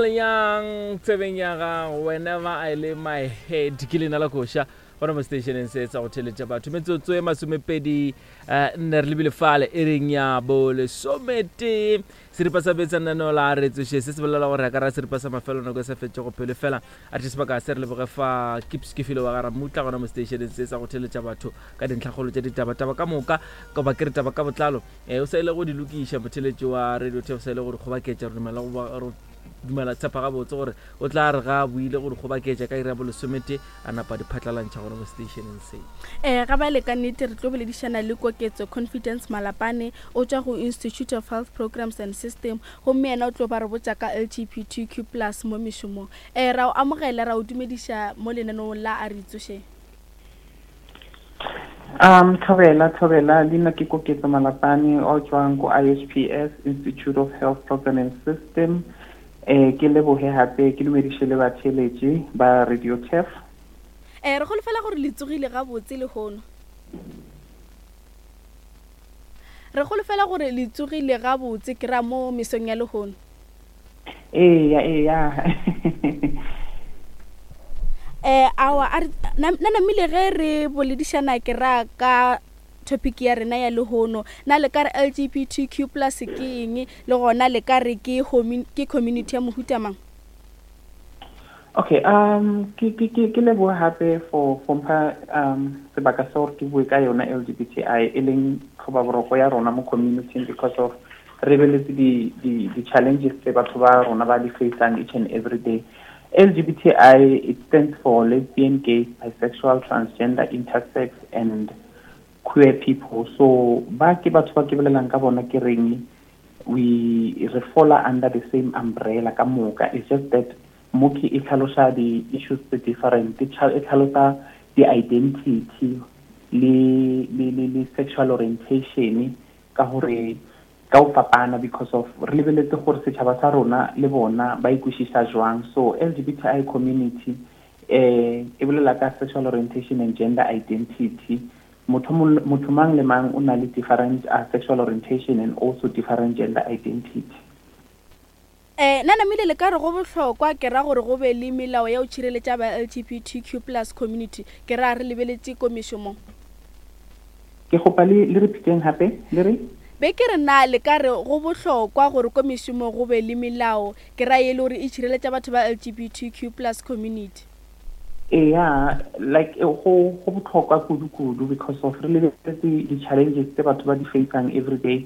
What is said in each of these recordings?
Paul Young tsebeng ya gago whenever I lay my head ke leina la koša gona mo stationeng se sa go theletša batho metsotso e masomepedi eh, nne re lebile fale e reng ya bo lesometee seripa sa betsa lenaneo la re tsoše se se bolela gore a ka ra seripa sa mafelo nako e sa fetšego pelo fela a re sebaka se re leboge fa kips ke file wa ga ramutla gona mo stationeng se sa go theletša batho ka dintlhakgolo tša ditaba taba ka moka goba ke re taba ka botlalo um o sa ile go di lokiša motheletši wa radio tef sa ile go di kgobaketša re dumela go dumela tshepa gabotse gore o tla re ga a buile go di kgobaketša ka iri ya bolesomete a napa di phatlalantšha gona mo stationeng se. Ee, ga bjale ka nnete re tlo boledišana le Koketso Confidence Malapane, o tšwa go Institute of Health Programs and System, gomme yena o tlo ba re botša ka LGBTQ plus mo mešomong. Ee, ra o amogela, ra o dumediša mo lenaneong la A Re Itsošeng. Um, thobela, thobela, leina ke Koketso Malapane, o tšwang ko IHPS, Institute of Health Program and System. Eh, ke leboge gape, ke dumediše le batheeletši ba Radio Turf. Eh, re holofela gore le tsogile gabotse lehono. Re holofela gore le tsogile gabotse ke ra mo mesong ya lehono. Eya, eya. Eh, awa, a re, na, na namile ge re boledišana ke ra ka topic ya rena ya lehono, na le ka re LGBTQ plus ke eng, le gona le ka re ke, ke community ya mohuta mang? Okay, um ke ke ke ke leboha hape for for mpha um sebaka sa gore ke bue ka yona LGBTI e leng tlhobaboroko ya rona mo community because of re beletse di di di challenges tse batho ba rona ba di facang each and every day. LGBTI it stands for lesbian, gay, bisexual, transgender, intersex and queer people. So ba ke batho ba ke bolelang ka bona ke reng we re fola under the same umbrella ka moka it's just that mo ke e tlhalosa di-issues tse different e tlhalosa di-identity le le le le sexual orientation ka gore ka o fapana because of re lebeletse gore setšhaba sa rona le bona ba ikwešiša jwang so LGBTI community eh e bolela ka sexual orientation and gender identity Motho, motho mang le mang o na le different uh, sexual orientation and also different gender identity. Eh, na namile le ka re go bohlokwa ke ra gore go be le melao ya go tšhireletša ba LGBTQ plus community ke ra re lebeletše ko mešomong? Ke kgopa le le repeateng gape le re? Be ke re na le ka re go bohlokwa gore ko mešomong go be le melao ke ra e le gore e tšhireletša batho ba LGBTQ plus community? Eya, like eh, go go botlhokwa kudu-kudu because of re lebeletse di-challenges tse batho ba di facang every day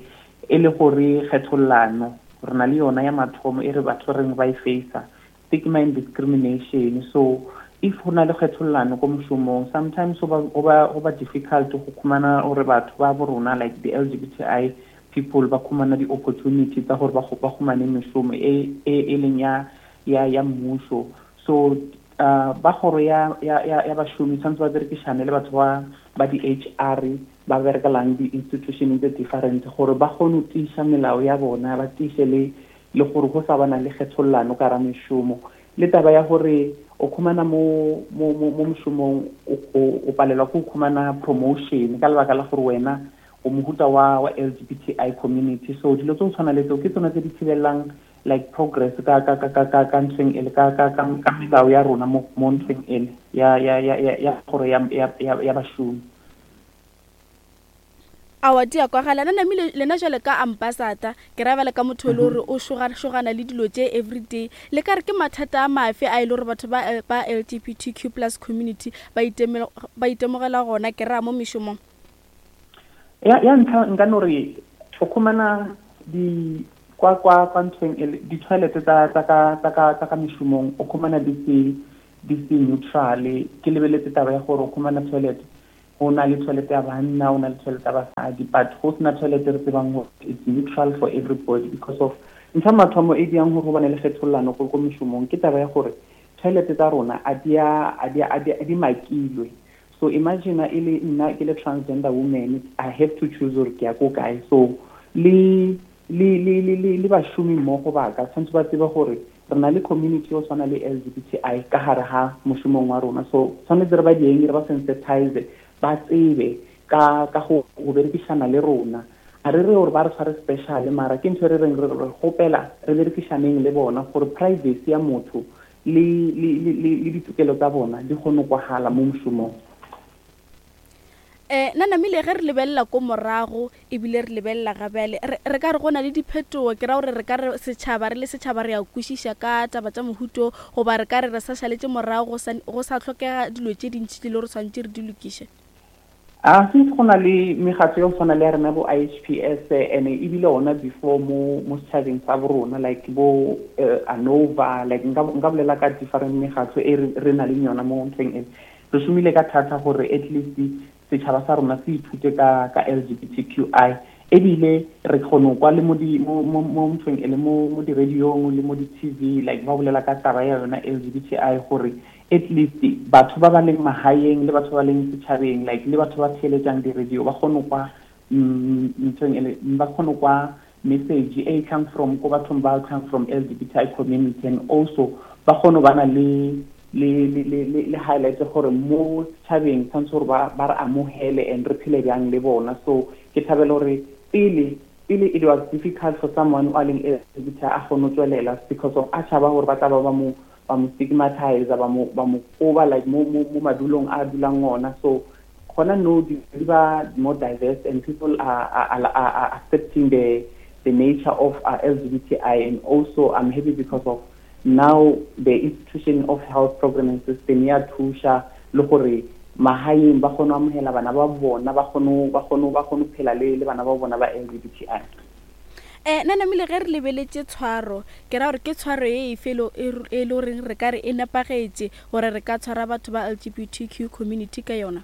e le gore kgethollano re na le yona ya mathomo e re batho reng ba e facer stigma and discrimination so if go na le kgethollano ko mošomong sometimes go ba go ba difficult go khumana gore batho ba bo rona like the LGBTI people ba khumana di-opportunity tsa gore ba khumane mešomo e e, e leng ya ya ya mmušo so uh, ba kgoro ya ya ya, ya bašomi tshwanetse ba berekišane le batho ba ba di-HR ba berekelang di-institutioneng tse different gore ba kgone go tiiša melao ya bona ba tiiše le le gore go sa bana le kgethollano ka ra mešomo le taba ya gore o khumana mo mo mo mo mošomong o palelwa ke go khumana promotion ka lebaka la gore wena o mohuta wa wa LGBTI community so dilo tse go tshwana le tseo ke tsona tse di thibelelang like progress ka ka ka ka ka ka ntlheng ele ka ka ka ka melao ya rona mo mo ntlheng ele ya ya ya ya ya gore ya ya ya ya bašomi. Aowa di a kwagala na namile lena jwale ka ambassador ke ra bjale ka motho e le gore o šogašogana le dilo tše everyday le ka re ke mathata a mafe a e le gore batho ba ba LGBTQ plus community ba itemela ba itemogela gona ke ra mo mešomong? Ya ya ntlha nka no re o khumana di kwa kwa kwa nthweng e di-toilet tsa tsa ka tsa ka tsa ka mešomong o khumana di se di se neutral ke lebeletse taba ya gore o khumana toilet go na le toilet ya banna o na le toilet ya basadi but go sena toilet re tsebang gore it's neutral for everybody because of ntho ya mathomo e diang gore go bane le kgethollano ko ko mešomong ke taba ya gore toilet tsa rona a di a a di a di makilwe So imagine e le nna ke le transgender woman, I have to choose gore ke ya ko kae. So le le le le le le bašomi mmogo ba ka tshwanetse ba tsebe gore re na le community yo tshwana le LGBTI ka gare ga mošomong wa rona. So tshwanetse re ba dieng re ba sensitize ba tsebe ka ka go go berekišana le rona. Ga re re gore ba re tshware special, mara ke ntho e re reng re re kgopela re berekišaneng le bona gore privacy ya motho le le le le le ditokelo tsa bona di kgone go kwagala mo mošomong. Um na namile ge re lebelela ko morago ebile re lebelela ga bjale, re re ka re go na le diphetogo? Ke ra gore re ka re setšhaba re le setšhaba re a kwešiša ka taba tša mohuto, goba re ka re re sa šaletše morago go sa go sa hlokega dilo tše dintši tše le gore swanetše re di lokiše? A since go na le mekgatlo ya go tshwana le ya rena bo IHPS and ebile ona before mo mo setšhabeng sa bo rona like bo ANOVA like nka nka bolela ka different mekgatlo e re re na leng yona mo ntlheng e re šomile ka thata gore at least setšhaba sa rona se ithute ka ka LGBTQI ebile re kgone go kwa le mo di mo mo mo nthong e le mo mo di-radiong le mo di-TV like ba bolela ka taba ya yona LGBTI gore at least batho ba ba leng magaeng le batho ba ba leng setšhabeng like le batho ba theeletšang di-radio ba kgone kwa nthong e le ba kgone kwa message e tlang from ko bathong ba tlang from LGBTI community and also ba kgone ba na le le le le le highlight gore mo setšhabeng tshwanetse gore ba ba re amohele and re phele bjang le bona. So ke thabela gore pele pele it was difficult for someone o a leng LGBTI a kgone go tswelela because of a tšhaba gore ba tla ba ba mo ba mo stigmatize ba mo ba mo koba like mo mo mo madulong a dulang ona. So gona no di ba more diverse and people are are, are, are accepting the nature of LGBTI and also I'm happy because of now the institution of health programming system ya thuša le gore magaeng ba kgone go amogela bana ba bona ba kgone ba kgone ba kgone phela le le bana ba bona ba LGBTI. Nna namile ge re lebeletše tshwaro, ke ra gore ke tshwaro ye efe e e le goreng re ka re e nepagetše gore re ka tshwara batho ba LGBTQ community ka yona?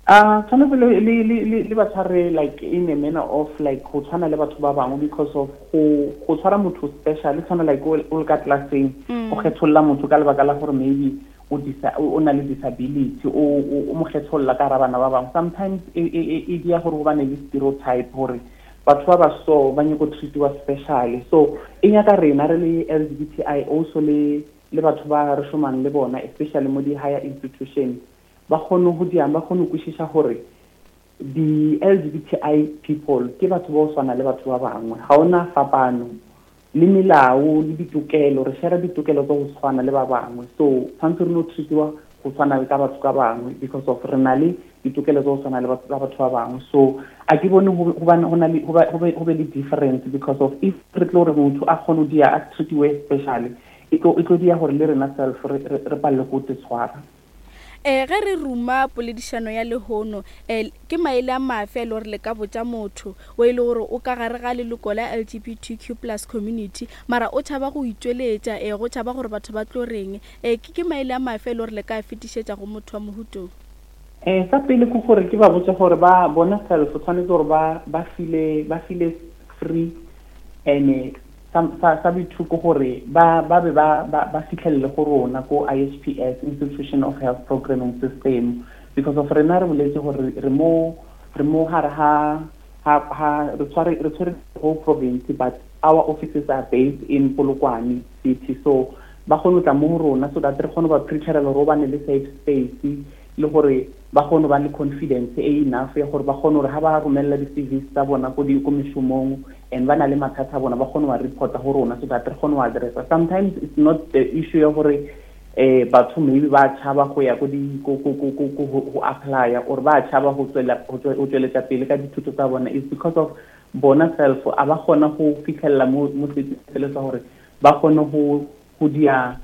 A tshwanetse le le le le ba tshware like in a manner of like go tshwana le batho ba bangwe because of go go tshwara motho special tshwana like o le ka classeng o kgetholla motho ka lebaka la gore maybe o disa o na le disability o o mo kgetholla ka gara bana ba bangwe. Sometimes e e e dia gore go bane le stereotype gore batho ba ba so ba nyako treatiwa specially. So e nyaka rena re le LGBTI also le le batho ba re šomang le bona especially mo di higher institutions ba kgone go diang ba kgone go kwešiša gore di LGBTI people ke batho ba go swana le batho ba bangwe, ga ona fapano le melao le ditokelo, re share ditokelo tsa go tshwana le ba bangwe. So tshwanetse re no treatiwa go tshwana le ka batho ka bangwe because of re na le ditokelo tsa go tshwana le batho ba bangwe. So a ke bone go na le go be le difference because of if re tlo re motho a kgone go dia a treatiwe specially e tlo dia gore le rena self re palele go te tshwara. Ge re ruma poledišano ya lehono, ke maele a mafe a e le gore le ka botša motho o e le gore o ka gare ga leloko la LGBTQ plus community mara o tšhaba go itšweletša, go tšhaba gore batho ba tlo reng? Ke ke maele a mafe a e le gore le ka a fetišetša go motho wa mohutong? Sa pele ke gore ke ba botse gore ba bona self tshwanetse gore ba ba file ba file free and sa sa sa boithuko gore ba ba be ba ba ba fitlhelele go rona ko IHPS Institution of Health Programming System because of rena re boletse gore re mo re mo gare ha ha ha re tshware re tshwere whole province but our offices are based in Polokwane city. So ba kgone go tla mo go rona so that re kgone ba preparela gore o bane le safe space le gore ba kgone ba le confidence e enough ya gore ba kgone gore ha ba romelela di-CVs tsa bona ko di ko mešomong and ba na le mathata a bona ba kgone wa reporta go rona so that re kgone wa addressa. Sometimes it's not the issue ya gore batho maybe ba tšhaba go ya ko di ko ko ko ko go go apply or ba tšhaba go tswela go tsweletsa pele ka dithuto tsa bona. It's because of bona self a ba kgona go fitlhelela mo mo sele sa gore ba kgone go go dia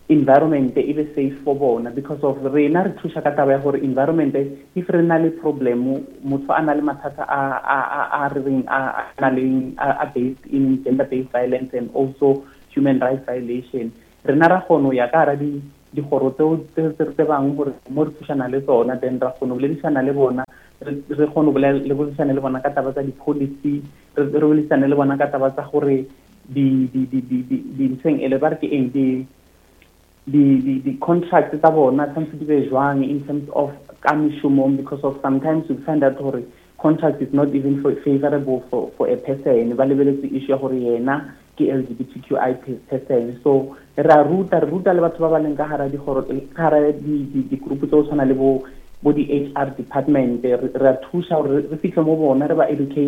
environment e be safe for bona because of rena re thuša ka taba ya gore environment if re na le problem motho a na le mathata a a a a re reng a na le a based in gender based violence and also human rights violation, rena ra kgona go ya ka gara di dikgoro tseo tse re tsebang gore mo re thušana le tsona, then ra kgona go boledišana le bona, re kgone go le boledišana le bona ka taba tsa di-policy, re boledišane le bona ka taba tsa gore di di di di di di nthweng ele ba re ke eng di di di di contract tsa bona tshwanetse di be jwang in terms of ka mešomong because of sometimes you find out gore contract is not even for, favorable for a person, ba lebeletse issue ya gore yena ke LGBTQI person. So re a ruta re ruta le batho ba ba leng ka hara dikgoro ka hara di di group tse go tshwana le bo Bo di-HR department, re a thuša gore re fihle mo bona, re ba educate.